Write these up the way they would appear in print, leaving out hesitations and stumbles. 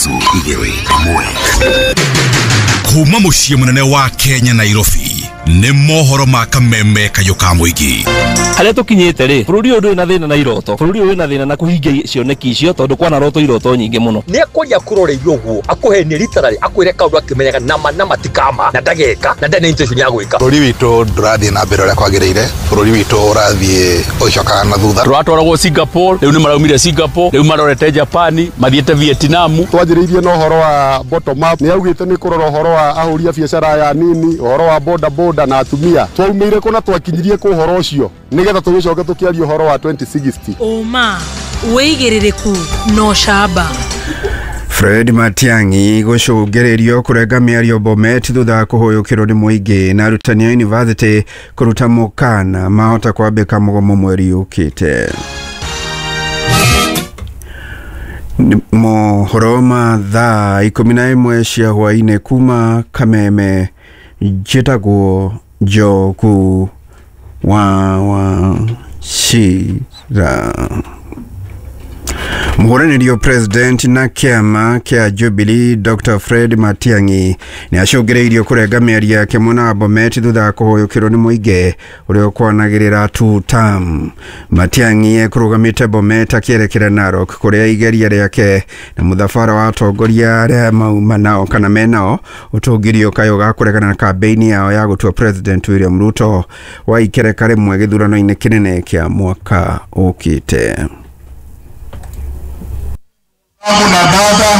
3 2 1. Kuma muciĩ mũnene wa Kenya Nairobi nĩ mohoro ma kameme kayũ ka mũingĩ. Harĩa tũkinyĩte rĩ, bũrũri ũyũ ndũrĩ na thĩna na iroto, bũrũri ũyũ wĩna thĩna na kũhingia cioneki icio tondũ kwana roto iroto nyingĩ mũno. Nĩ akwaria kũroreirio ũguo akũhenie literally akwĩre kaũndũ akĩmenyaga nama nama ti kama na ndageka na ndarĩ na intention ya gwĩka. Bũrũri witũ ndũrathiĩ na mbere ũrĩa kwagĩrĩire, bũrũri witũ ũrathiĩ ũgĩcokaga na thutha. Tũratwaragwo Singapore, rĩu nĩ maraumire Singapore, rĩu marorete Japan, mathiĩte Vietnam. Twanjĩrĩirie na ũhoro wa bottom up, nĩ augĩte nĩ kũrora ũhoro wa ahũri a biacara aya nini, ũhoro wa boda boda na atumia. Twaumĩire kũ na twakinyirie kũ ũhoro ũcio nĩgetha tũgĩcoke tũkĩaria ũhoro wa 2060. Ũma wĩigĩrĩrĩku no camba. Fred Matiang'i gũcũngĩrĩrio kũrenga mĩario Bomet thutha wa kũhũyũkĩrwo nĩ mũingĩ na arutani a yunivasĩtĩ kũruta mũkana mahota kwambĩka mũgomo mweri ũkĩte. Mohoro ma thaa 11 cia hwaĩ-inĩ kuma Kameme, njĩtagwo Njogu wa Wachira. Mũhũranĩri president na kĩama kĩa Jubilee Dr. Fred Matiang'i nĩ acũngĩrĩirio kũrenga mĩario yake mwena wa Bomet thutha wa kũhũyũkĩrwo nĩ mũingĩ ũrĩa ũkwanagĩrĩra two term. Matiang'i ekũrũgamĩte Bomet akĩerekera Narok kũrĩa igeria rĩake na mũthabara wa atongoria arĩa mauma nao kana menao ũtũngĩrio kayũ ga kũregana na kambĩini yao ya gũtua President William Ruto wa ikereka rĩmwe gĩthurano-inĩ kĩnene kĩa mwaka ũkĩte. Na dada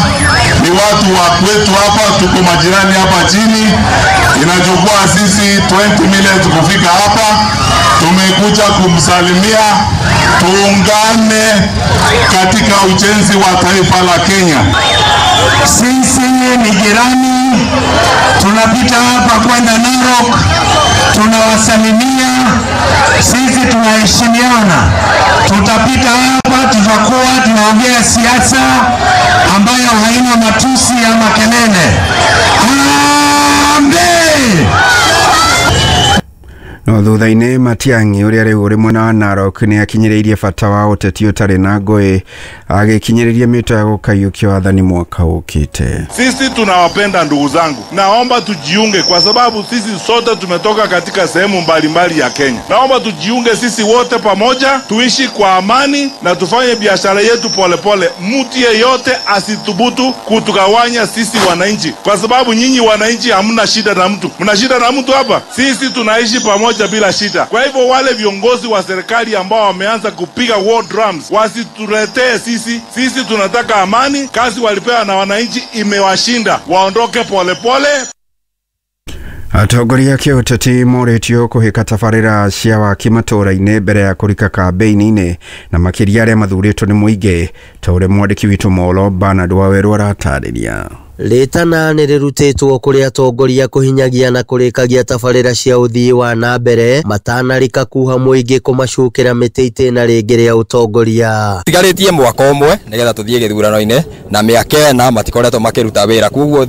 ni watu wa kwetu hapa, tuko majirani hapa chini. Inachukua sisi 20 minutes kufika hapa. Tumekuja kumsalimia, tuungane katika ujenzi wa taifa la Kenya. Sisi ni jirani, tunapita hapa kwenda Narok, tunawasalimia. Sisi tunaheshimiana, tutapita hapa, tutakuwa tunaongea siasa ambayo haina matusi ya makelele. Harambee! No thutha-inĩ Matiang'i ũrĩa rĩu ũrĩ mwena wa Narok nĩ akinyĩrĩirie bata wa ũteti ũtarĩ na ngũĩ agĩkinyĩrĩria mĩto ya gũkaiyũkia wathani mwaka ũkĩte. Sisi tunawapenda ndugu zangu, naomba tujiunge kwa sababu sisi sote tumetoka katika sehemu mbalimbali ya Kenya. Naomba tujiunge sisi wote pamoja, tuishi kwa amani na tufanye biashara yetu polepole. Mtu yeyote asithubutu kutugawanya sisi wananchi, kwa sababu nyinyi wananchi hamna shida na mtu. Mna shida na mtu hapa? Sisi tunaishi pamoja bila shida. Kwa hivyo wale viongozi wa serikali ambao wameanza kupiga war drums wasituletee sisi. Sisi tunataka amani. Kazi walipewa na wananchi imewashinda, waondoke polepole. Atongoria kĩũteti morĩtio kũhĩka tabarĩra cia waki matũũra-inĩ mbere ya kũrika kambĩini-inĩ na makĩria arĩa mathurĩtwo nĩ mũingĩ ta ũrĩa mwandĩki witũ Molo Bernard Wawerũ aratarĩria. Rĩtana nĩ rĩrutĩtwo kũrĩ atongoria kũhinyagia na kũrĩkagia tabarĩra cia ũthii wa na mbere matanarika kuha mũingĩ kũmacukĩra mĩtĩ itĩna rĩngĩ rĩa ũtongoria. Tigarĩtie mwaka ũmwe nĩgetha tũthiĩ gĩthurano-inĩ na mĩaka ĩna matikoretwo makĩruta wĩra, koguo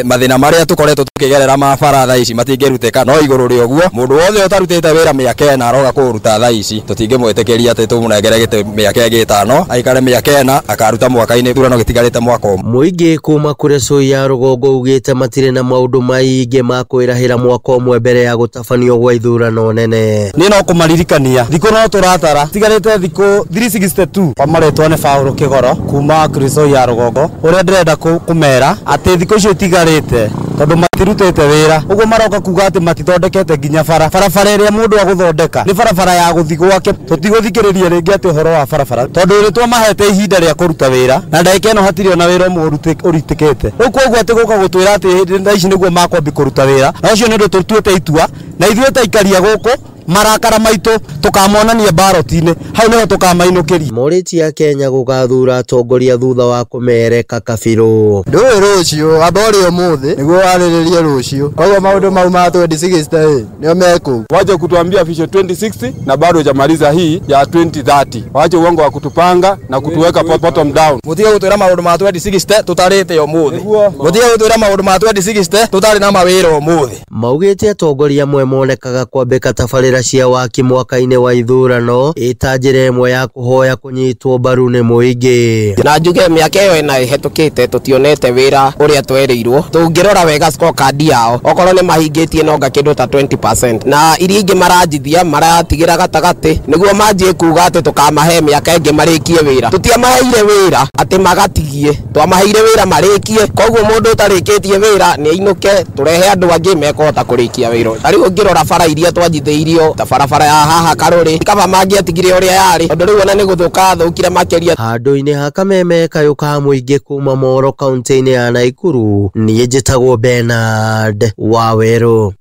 mathĩna marĩa tũkoretwo tũkĩgerera ma bara thaa ici matingĩrutĩka. No igũrũ rĩa ũguo mũndũ wothe ũtarutĩte wĩra mĩaka ĩna aroga kũũruta thaa ici, tũtingĩmwĩtĩkĩria atĩ tũmũnengere gĩtĩ mĩaka ĩngĩ ĩtano aikare mĩaka ĩna akaruta mwaka-inĩ gĩthurano gĩtigarĩte mwaka ũmwe. Mũingĩ kuma kũrĩ Soi ya rũgongo ugĩte matirĩ na maũndũ maingĩ ma kwĩrahĩra mwaka ũmwe mbere ya gũtabanio gwa ithurano nene. Niĩ no kũmaririkania thikũ no tũratara tigarĩte thikũ 362. Kwa marĩtwa nĩ Paul Kĩgoro kuma Kuresoi ya rũgongo, ũrĩa ndĩrenda kũmera atĩ thikũ icio itigarĩte tondũ matirutĩte wĩra ũguo maroka kuga atĩ matithondekete nginya bara barabara ĩrĩa mũndũ agũthondeka nĩ barabara ya gũthiĩ gwake. Tũtigũthikĩrĩria rĩngĩ atĩ ũhoro wa barabara tondũ nĩ twamahete ihinda rĩa kũruta wĩra na ndagĩka ĩno hatirĩ ona wĩra ũmwe ũrutĩkĩte. Rĩu koguo atĩ gũka gũtwĩra atĩ thaa ici nĩguo makwambia kũruta wĩra, na ũcio nĩ ũndũ tũtuĩte itua na ithuĩ ta aikaria gũkũ marakara maitũ tukamonania baroti-inĩ hau niho tukamainũkĩria. Morĩtie a Kenya gũgathura atongoria thutha wa kũmereka kabirũ. Ndũĩ rũciũ amba ũrĩ ũmũthĩ nĩguo warĩrĩrie rũciũ, koguo maũndũ mau ma 2060 nĩo mekũu. Waje kutuambia vision 2060 na bado hujamaliza hii ya 2030. Wache uongo wa kutupanga na kutuweka bottom down. Mutige gutwira maundu ma 2060 tutarite umuthi. Mutige gutwira maundu ma 2060 tutari na mawira umuthi. Maugĩte atongoria amwe monekaga kwambĩka tabarĩra tabarĩra cia waki mwaka-inĩ wa ithurano ĩta njĩra ĩmwe ya kũhoya kũnyitwo mbaru nĩ mũingĩ. Na njuge mĩaka ĩyo ĩna ĩhetũkĩte tũtionete wĩra ũrĩa twerĩirwo. Tũngĩrora wega scorecard yao okorwo nĩ mahingĩtie nonga kĩndũ ta 20% na iria ingĩ maranjithia maratigĩra gatagatĩ nĩguo manjie kuga atĩ tũkamahe mĩaka ĩngĩ marĩkie wĩra. Tũtiamaheire wĩra atĩ magatigie, twamaheire wĩra marĩkie. Koguo mũndũ ũtarĩkĩtie wĩra nĩ ainũke, tũrehe andũ angĩ mekũhota kũrĩkia wĩra. Ta rĩu ũngĩrora bara iria twanjithĩirio ta barabara ya haha Karũrĩ, kaba mangĩatigire ũrĩa yarĩ, tondũ rĩu ona nĩ gũthũka thũkire makĩria. Handũ-inĩ ha kameme kayũ ka mũingĩ kuma Moro kaunti-inĩ ya Naikuru, niĩ njĩtagwo Bernard Wawerũ.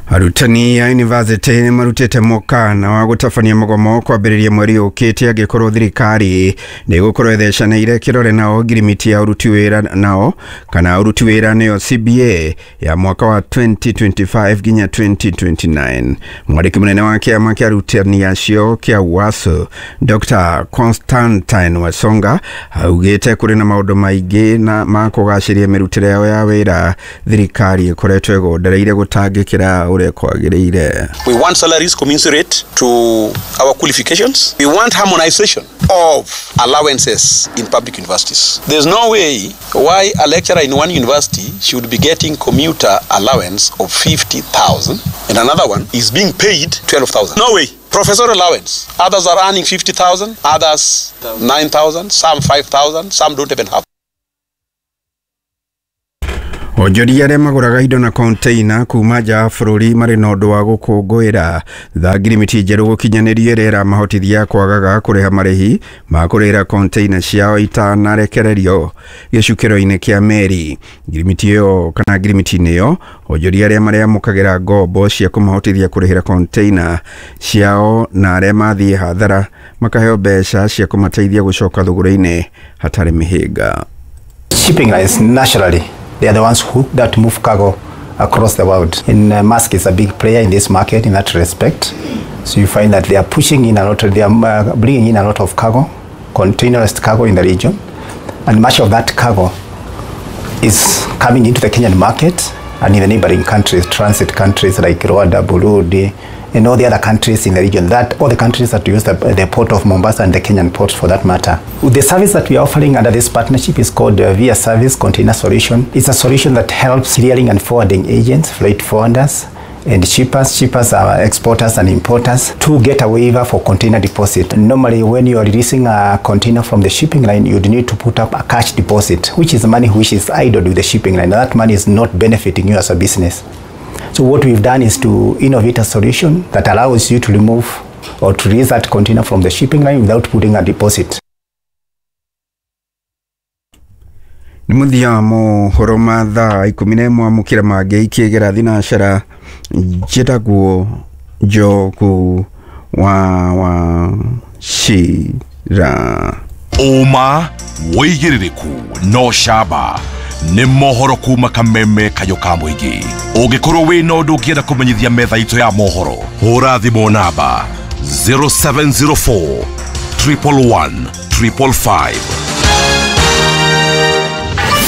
Arutani a university nĩ marutĩte mũkana wa gũtabania mũgomo kwambĩrĩria mweri ũkĩte angĩkorwo thirikari nĩ ĩgũkorwo ĩthecanĩire kĩrore nao ngirimiti ya ũruti wĩra nao kana ũruti wĩra nĩyo CBA ya mwaka wa 2025 nginya 2029. Mwandĩki mũnene wa kĩama kĩa arutani acio kĩa UASU Dr. Constantine Wasonga augĩte kũrĩ na maũndũ maingĩ na ma kũgacĩria mĩrutĩre yao ya wĩra thirikari ĩkoretwo ĩgondereire gũtangĩkĩra. We want salaries commensurate to our qualifications. We want harmonization of allowances in public universities. There's no way why a lecturer in one university should be getting commuter allowance of 50,000 and another one is being paid 12,000. No way. Professor allowance. Others are earning 50,000, others 9,000, some 5,000, some don't even have. Onjoria arĩa magũraga indo na container kuma nja ya bũrũri marĩ na ũndũ wa gũkũngũĩra thutha ngirimiti njerũ gũkinyanĩrio ĩrĩa ĩramahotithia kwagaga kũrĩha marĩhi ma kũrĩhĩra container ciao itanarekererio gĩcukĩro-inĩ kĩa meri. Ngirimiti ĩyo kana ngirimiti-inĩ ĩyo onjoria arĩa marĩamũkagĩra ngombo cia kũmahotithia kũrĩhĩra container ciao na arĩa mathiĩ hathara makaheo mbeca cia kũmateithia gũcoka thũgũrĩ-inĩ hatarĩ mĩhĩnga. Shipping lines naturally, they are the ones who that move cargo across the world. And Maersk is a big player in this market in that respect. So you find that they are pushing in a lot, they are bringing in a lot of cargo, containerized cargo in the region. And much of that cargo is coming into the Kenyan market and in the neighboring countries, transit countries like Rwanda, Burundi, and all the other countries in the region, that all the countries that use the port of Mombasa and the Kenyan ports for that matter. The service that we are offering under this partnership is called Via Service Container Solution. It's a solution that helps clearing and forwarding agents, freight forwarders, and shippers. Shippers are exporters and importers to get a waiver for container deposit. Normally, when you are releasing a container from the shipping line, you'd need to put up a cash deposit, which is money which is idle with the shipping line. That money is not benefiting you as a business. So what we've done is to innovate a solution that allows you to remove or to release that container from the shipping line without putting a deposit. Nĩ mũthia wa mohoro ma thaa 11 amũkĩra mangĩ ikĩgera thinacara njĩtagwo Njogu wa Wachira. Ũma wĩigĩrĩrĩku no camba nĩ mohoro kuma kameme kayũ ka mũingĩ. Ũngĩkorwo wĩna ũndũ ũngĩenda kũmenyithia metha itũ ya mohoro, hũra thimũ namba 0704 111 555.